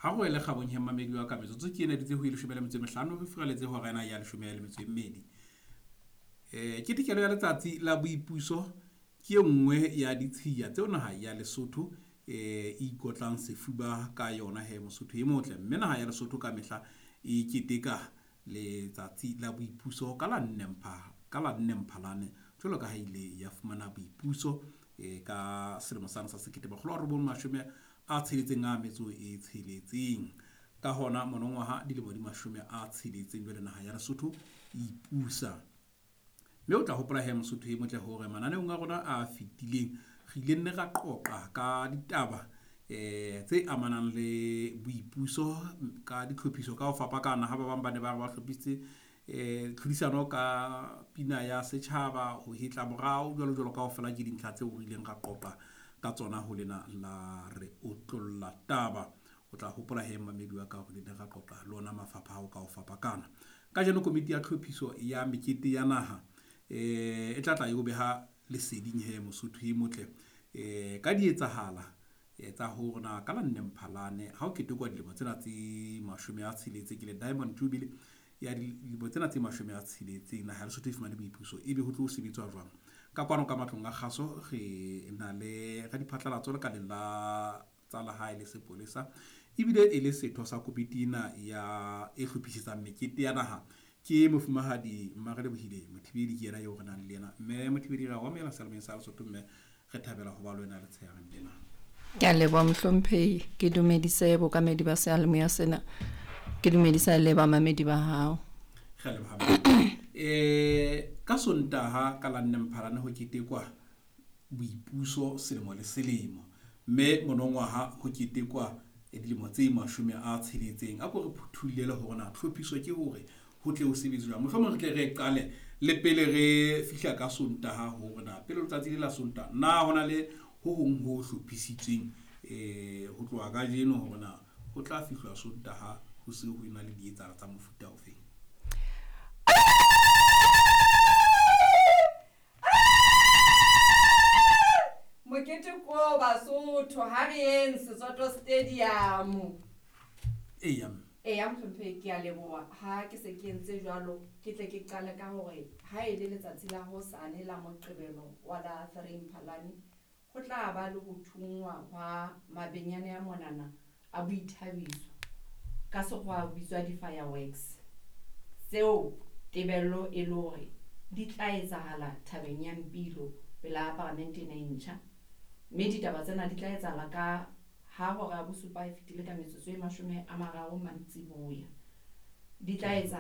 Ha go ele kgabong he mmamedi wa ka, metsotso ke ena dutse ho e 15 re furaletse hora ena ya 12. Ketekelo ya letsatsi la boipuso ke e nngwe ya ditshiya tseo naha ya Lesotho e ikotlang sefuba ka yona he Mosotho e motle. Mme naha ya Lesotho ka mehla e keteka letsatsi la boipuso ka la 4 Mphalane jwalo ka ha ile ya fumana boipuso ka selemo sane sa 1966. Ka hona monongwaha dilemo di 60 jwale naha ya Lesotho e ipusa. Mme o tla hopola he Mosotho e motle hore mananeong a rona a fetileng re ile nne ra qoqa ka ditaba tse amanang le boipuso ka ditlhophiso ka ho fapakana. Ha ba bang ba ne ba re ba hlophisitse tlhodisano ka pina ya setjhaba, ho hetla morao jwalo jwalo. Kaofela ke dintlha tseo re ileng ra qoqa ka tsona ho lena la re otlolla taba. O tla hopola he mmamedi wa ka hore re ile ra qoqa le ona mafapha ao ka ho fapakana. Kajeno komiti ya tlhophiso ya mekete ya naha e tla tla e o beha leseding he Mosotho e motle ka dietsahala tsa hore na ka la 4 Mphalane ha o ketekwa dilemo tsena tse 60 ke le Diamond Jubilee ya dilemo tsena tse 60 naha ya Lesotho e fumane boipuso, ebe ho tlo sebetswa jwang. Ka kwano ka matlong a kgaso re na le radiphatlalatso lekaleng la tsa lehae le sepolesa, ebile e le setho sa komiti ena ya e hlophisetsang mekete ya naha ke mofumahadi Mmarelebohile Mothibeli. Ke yena eo re nang le yena. Mme Mothibeli, re a o amohela seyalemoyeng sa Lesotho, mme re thabela ho ba le wena letshehareng lena. Ke a leboha mohlomphehi, ke dumedise bokamedi ba seyalemoya sena, ke dumedisa le bamamedi ba hao. Re a leboha. Ka Sontaha ka la 4 Mphalane ho ketekwa boipuso selemo le selemo, mme monongwaha ho ketekwa dilemo tse 60. A ko re phuthullele hore na tlhophiso ke hore ho tle ho sebetse jwang. Mohlomong re tle re qale le pele re fihla ka Sontaha hore na pele letsatsi le la Sontaha na hona le ho hong ho hlophisitsweng ho tloha kajeno hore na ho tla fihlwa Sontaha ho se ho ena le dietsahalo tsa mofuta ofeng. Mokete ko Basotho ha re yeng Setsoto Stadium. Eya. Eya mohlomphehi, ke a leboha. Ha ke se ke entse jwalo, ke tle ke qale ka hore ha e le letsatsi la hosane la Moqebelo wa la 3 Mphalane, ho tla ba le ho thungwa hwa mabenyane a monana a boithabiso, ka sekgowa a bitswa di-fireworks, tseo tebello e le hore di tla etsahala thabeng ya Mpilo pela paramente ena e ntjha. Mme ditaba tsena di tla etsahala ka ha hora ya bosupa e fetile ka metsotso e 30 mantsiboya. Di tla etsa